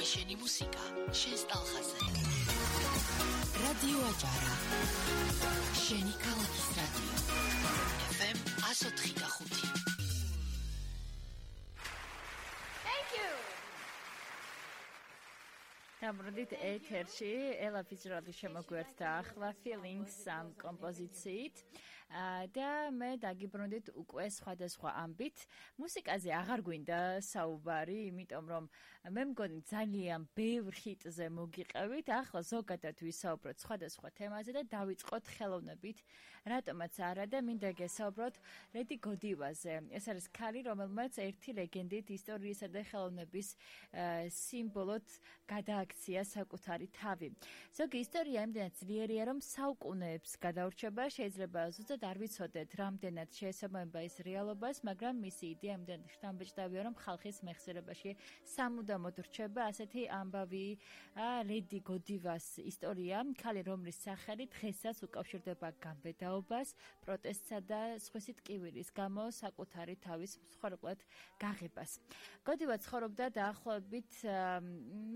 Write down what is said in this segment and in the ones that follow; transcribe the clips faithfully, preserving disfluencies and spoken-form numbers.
შენი მუსიკა, შენს ტალღაზე. რადიო აჭარა. შენი ქალაქის რადიო. ეფ ემ one oh three point five. Thank you. Დაბრუნდით ეთერში, ელა ფიჩრადი შემოგვერთდა ახლა feelings ამ კომპოზიციით. და მე დაგიბრუნდით უკვე სხვადასხვა ამბით. მუსიკაზე აღარ გვინდა საუბარი, იმიტომ რომ მე მგონი ძალიან ბევრ ჰიტზე მოგიყევით. ახლა ზოგადად ვისაუბროთ სხვადასხვა თემაზე და დავიწყოთ ხელოვნებით. რატომაც არა და მინდა გესაუბროთ ლედი გოდივაზე. ეს არის ქალი, რომელმაც ერთი ლეგენდით ისტორიისა და ხელოვნების სიმბოლოდ გადააქცია საკუთარი თავი. ზოგი ისტორია იმდენად ძლიერია, რომ საუკუნეებს გადაურჩება, შეიძლება ზუსტად არ ვიცოდეთ, რამდენად შეესაბამება ის რეალობას, მაგრამ მისი იდეა იმდენად შთამბეჭდავია, რომ ხალხის მეხსიერებაში სამუდამოდ რჩება. ასეთი ამბავი ლედი გოდივას ისტორია, ქალი, რომლის სახელი დღესაც უკავშირდება გამბედაობას, პროტესტსა და სხვისი ტკივილის გამო საკუთარი თავის მსხვერპლად გაღებას. გოდივა ცხოვრობდა დაახლოებით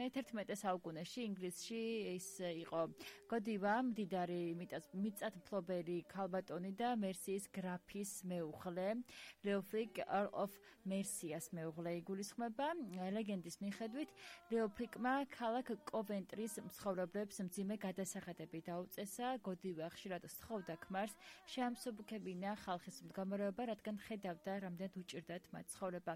მეთერთმეტე საუკუნეში ინგლისში. ის იყო გოდივა მდიდარი მიწათმფლობელი ქალბატონი და მერსიის გრაფის მეუღლე, ლეოფრიკ Earl of Mercia's მეუღლე იგულისხმება. ლეგენდის მიხედვით, ლეოფრიკმა ქალაქ კოვენტრის მცხოვრებლებს მძიმე გადასახადები დაუწესა. გოდივა ხშირად სთხოვდა ქმარს შეამსუბუქებინა ხალხის მდგომარეობა, რადგან ხედავდა, რამდენად უჭირდათ მათ ცხოვრება.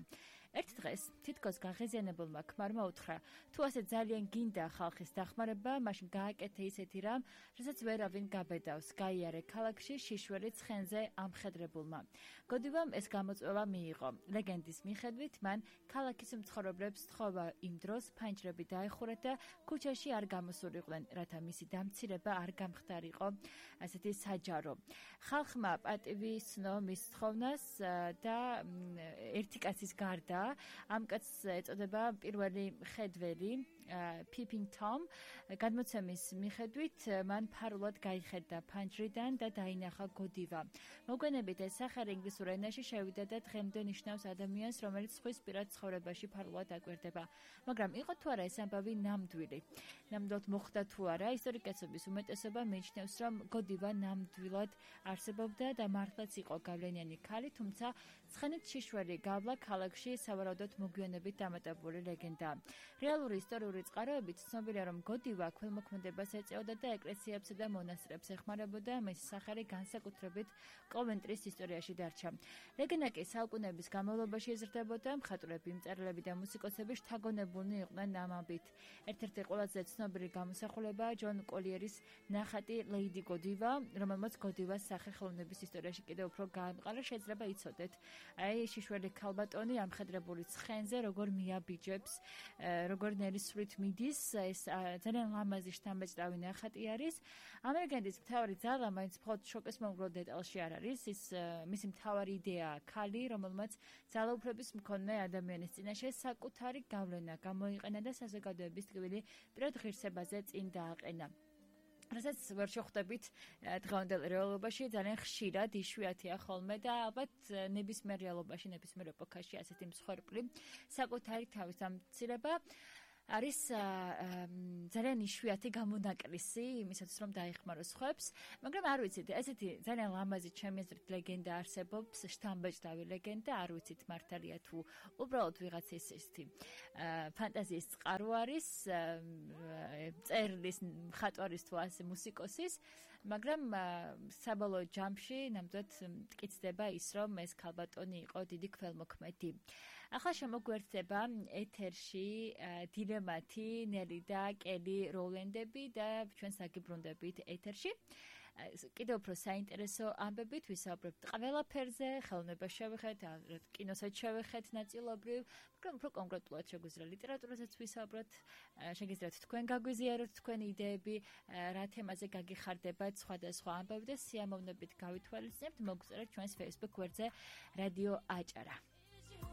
ერთ დღეს თითქოს გაღიზიანებულმა ქმარმა უთხრა, თუ ასე ძალიან გინდა ხალხის დახმარება, მაშინ გააკეთე ისეთი რამ, რასაც ვერავინ გაბედავს. გაიარე ქალაქში შიშველი ცხენზე ამხედრებულმა. გოდივამ ეს გამოწვევა მიიღო. ლეგენდის მიხედვით, მან ქალაქის მცხოვრებლებს სთხოვა იმ დროს ფანჯრები დაეხურათ და ქუჩაში არ გამოსულიყვნენ, რათა მისი დამცირება არ გამხდარიყო ასეთი საჯარო. ხალხმა პატივი სცნო მის სთხოვნას და ერთი კაცის გარდა ამ კაცს ეწოდება პირველი ხედველი Peeping Tom. გადმოცემის მიხედვით, მან ფარულად გაიხედა ფანჯრიდან და დაინახა გოდივა. მოგვიანებით ეს სახელი ინგლისურ ენაში შევიდა და დღემდე ნიშნავს ადამიანს, რომელიც სხვის პირად ცხოვრებაში ფარულად აკვირდება. მაგრამ იყო თუ არა ეს ამბავი ნამდვილი? ნამდვილად მოხდა თუ არა? ისტორიკოსების უმეტესობა მიიჩნევს, რომ გოდივა ნამდვილად არსებობდა და მართლაც იყო გავლენიანი ქალი, თუმცა ცხენით შიშველი გავლა ქალაქში სავარაუდოდ მოგვიანებით დამატებული ლეგენდა. რეალური ისტორიული წყაროებით ცნობილია, რომ გოდივა ქველმოქმედებას ეწეოდა და ეკლესიებსა და მონასტრებს ეხმარებოდა. მის სახელი განსაკუთრებით კოვენტრის ისტორიაში დარჩა. ლეგენდა კი საუკუნეების განმავლობაში იზრდებოდა. მხატვრები, მწერლები და მუსიკოსები შთაგონებულნი იყვნენ ამ ამბით. ერთ-ერთი ყველაზე ცნობილი გამოსახულებაა ჯონ კოლიერის ნახატი ლეიდი გოდივა, რომელმაც გოდივას სახე ხელოვნების ისტორიაში კიდევ უფრო გაამყარა. შეიძლება იცოდეთ, აი შიშველი ქალბატონი ამხედრებული ცხენზე როგორ მიაბიჯებს, როგორ ნერისვრით მიდის. ეს ძალიან ლამაზი შთამბეჭდავი ნახატი არის. ამ ლეგენდის მთავარი ძალა მაინც მხოლოდ შოკის მომგრო დეტალში არ არის. ის მისი მთავარი იდეაა ქალი, რომელმაც ძალაუფლების მქონე ადამიანის წინაშე საკუთარი გავლენა გამოიყენა და საზოგადოების ტკივილი პირად ღირსებაზე წინ დააყენა. რასაც ვერ შეხვდებით დღევანდელ რეალობაში, ძალიან ხშირად იშვიათია ხოლმე და ალბათ ნებისმიერ რეალობაში, ნებისმიერ ეპოქაში ასეთი მსხვერპლი საკუთარი თავის დამცირება არის ძალიან იშვიათი გამონაკლისი იმისათვის, რომ დაეხმაროს სხვებს, მაგრამ არ ვიცით, ესეთი ძალიან ლამაზი ჩემი აზრით ლეგენდა არსებობს, შთამბეჭდავი ლეგენდა, არ ვიცით მართალია თუ უბრალოდ ვიღაცის ესეთი ფანტაზიის წყარო არის, წერლის, მხატვარის თუ ასე მუსიკოსის, მაგრამ საბოლოო ჯამში ნამდვილად მტკიცდება ის, რომ ეს ქალბატონი იყო დიდი ქველმოქმედი. ახლა შემოგვერთდება ეთერში დილემათი, ნელი და კელი როულენდები და ჩვენ საგიბრუნდებით ეთერში. კიდევ უფრო საინტერესო ამბებით ვისაუბრებთ ყველაფერზე, ხელოვნებას შევეხეთ, კინოსაც შევეხეთ ნაწილობრივ, მაგრამ უფრო კონკრეტულად შეგვიძლია ლიტერატურასაც ვისაუბროთ, შეგიძლიათ თქვენ გაგვიზიაროთ თქვენი იდეები, რა თემაზე გაგიხარდებათ სხვადასხვა ამბები და სიამოვნებით გავითვალისწინებთ, მოგწერეთ ჩვენს Facebook გვერდზე რადიო აჭარა.